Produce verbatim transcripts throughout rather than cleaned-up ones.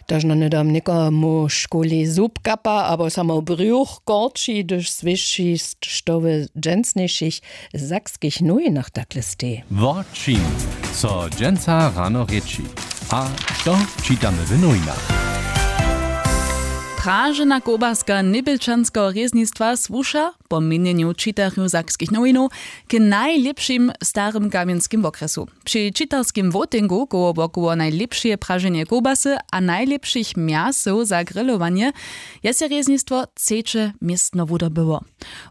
Tož na hnydom někomu w šuli zub kapa abo samo brjuch korči, hdyž słyši, što w dźensnjejšich sakskich nowinach takle steji. Wo čim so dźensa rano rěči a što čitamy w nowinach? Pražena kołbaska njebjelčanskeho rěznistwa słuša po měnjenju čitarjow sakskich nowinow k najlěpšim w starym kamjenskim wokrjesu. Při čitarskim wołtingu koło wokoło najlěpšeje praženje kołbasy a najlěpšich mjasow za grillowanje je sej rěznistwo třeće městno wudobyło.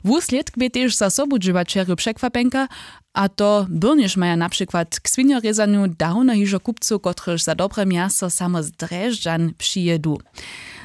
Wuslědk bě tež za sobudźěłaćerjow překwapjenka, a to byrnjež maja na přikład k swinjorězanju dawno hižo kupcow, kotryž za dobre mjaso samo z drježdźan přijědu.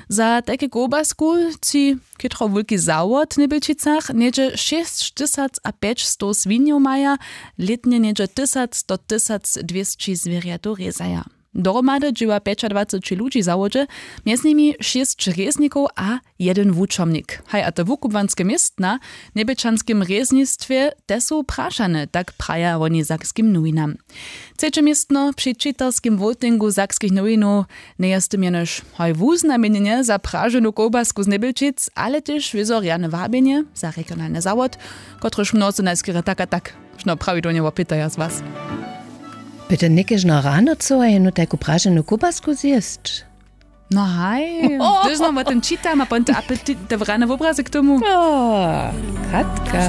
Za tajke kołbasku tři chětro wulki zawod w njebjelčicach něhdźe šěsć tysac a pjećstow swinjow maja, lětnje něhdźe tysac do tysac dwěsći zwěrjatow rězaja. Dohromady dźěła pjećadwaceći ludźi w zawodźe, mjez nimi šěsć rěznikow a jedyn wučomnik. Haj a te wukubłanske městna w njebjelčanskim rěznistwje te su prašane, tak praja woni sakskim nowinam. Třeće městno při čitarskim wołtingu sakskich nowinow njeje z tym jenož hoj wuznamjenjenje za praženu kołbasku z njebjelčic, ale tež wězo rjane wabjenje za regionalny zawod, kotryž mnozy najskerje tak a tak šno prawidłownje wopytaja z was. By to někežno rano chcyła jenu tajku praženu kołbasku zjěsć? No haj, hdyž znam wo tym čitam a pon te apetit te wrane wobrazy k tomu. Katka.